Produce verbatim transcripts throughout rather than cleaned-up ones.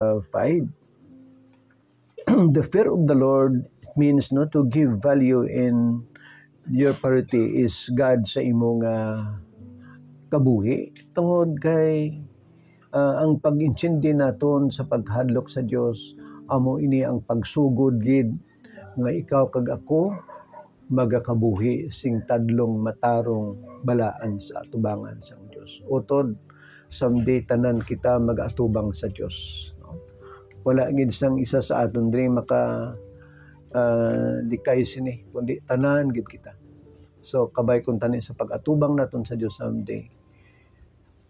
uh, five. The fear of the Lord means, no, to give value in your priority is God sa imo nga kabuhi. Tungod kay, ah, ang pag-intindi naton sa paghadlok sa Dios, amo ini ang pagsugod gid nga ikaw kag ako magakabuhi sing tadlong matarong balaan sa atubangan sang Dios. Utod, someday tanan kita mag-atubang sa Dios, no? Wala gid sang isa sa aton diri maka, ah, likay sini, kundi tanan gid kita. So, kabay kon tani sa pag-atubang naton sa Dios someday,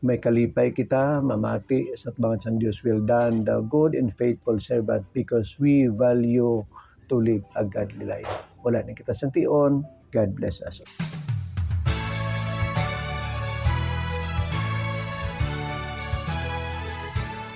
may kalipay kita, mamati sa atubangan sang Dios, "Well done, thou good and faithful servant," because we value to live a godly life. Wala na kita sang tion. God bless us.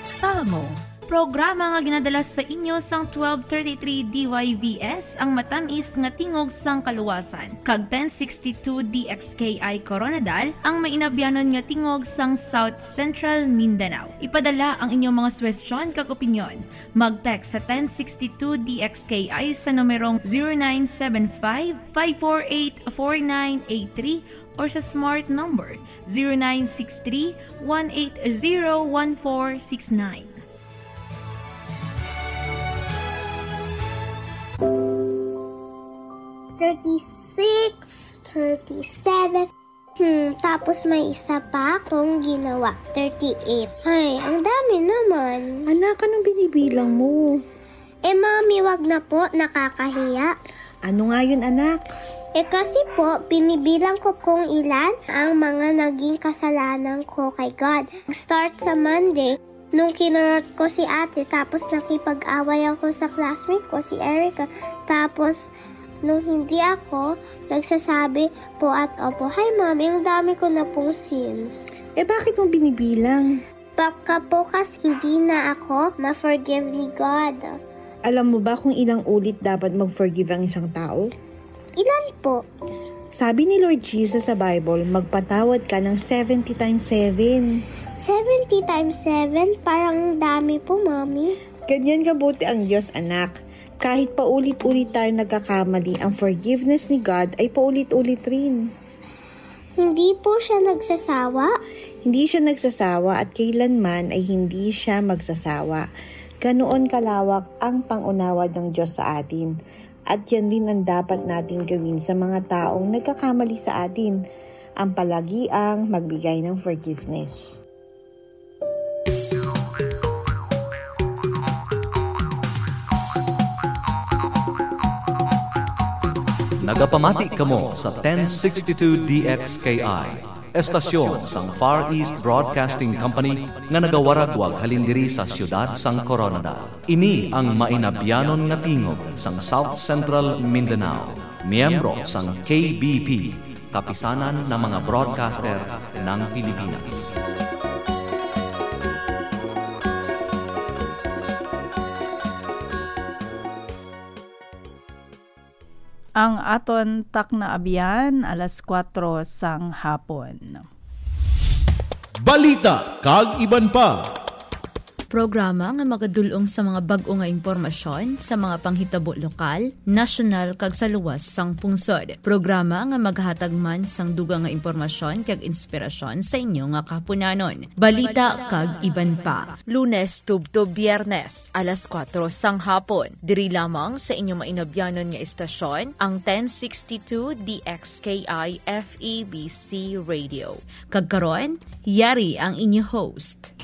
Salmo, programa nga ginadala sa inyo sang twelve thirty-three D Y V S, ang matamis nga tingog sang kaluwasan, kag ten sixty-two D X K I Koronadal, ang mainabyanon nga tingog sang South Central Mindanao. Ipadala ang inyong mga suwestyon kag opinyon. Mag-text sa ten sixty-two D X K I sa numerong zero nine seven five, five four eight, four nine eight three or sa smart number zero nine six three, one eight zero, one four six nine. Thirty-six, thirty-seven. Hmm, tapos may isa pa akong ginawa. Thirty-eight. Ay, ang dami naman. Anak, anong binibilang mo? Eh, Mami, wag na po. Nakakahiya. Ano nga yun, anak? Eh, kasi po, binibilang ko kung ilan ang mga naging kasalanan ko kay God. Start sa Monday, nung kinurot ko si ate, tapos nakipag-away ako sa classmate ko, si Erica. Tapos, nung hindi ako nagsasabi po at opo, "Hi, Mami, ang dami ko na pong sins." Eh, bakit mo binibilang? Baka po kasi hindi na ako ma-forgive ni God. Alam mo ba kung ilang ulit dapat mag-forgive ang isang tao? Ilan po? Sabi ni Lord Jesus sa Bible, magpatawad ka ng seventy times seven. Seventy times seven? Parang dami po, Mami. Ganyan kabuti ang Diyos, anak. Kahit paulit-ulit tayo nagkakamali, ang forgiveness ni God ay paulit-ulit rin. Hindi po siya nagsasawa? Hindi siya nagsasawa at kailanman ay hindi siya magsasawa. Ganoon kalawak ang pangunawa ng Diyos sa atin. At yan din ang dapat natin gawin sa mga taong nagkakamali sa atin, ang palagiang magbigay ng forgiveness. Nagapamati kamo sa ten sixty-two D X K I, estasyon sang Far East Broadcasting Company nga nagawaragwag halin diri sa siyudad sang Coronadal. Ini ang mainabyanon nga tingog sang South Central Mindanao, miyembro sang K B P, Kapisanan ng mga Broadcaster ng Pilipinas. Ang aton takna abyan, alas kuwatro sang hapon. Balita kag iban pa. Programa nga magadul-ong sa mga bag-o nga impormasyon sa mga panghitabo lokal, nasyonal, kag sa luwas sang pungsod. Programa nga maghatag man sang dugang nga impormasyon kag inspirasyon sa inyo nga kahapunanon. Balita kag iban pa. Lunes tubtob Biyernes, alas kuwatro sang hapon. Diri lamang sa inyo mainabyanon nga istasyon, ang ten sixty-two D X K I F E B C Radio. Kag karon, yari ang inyo host.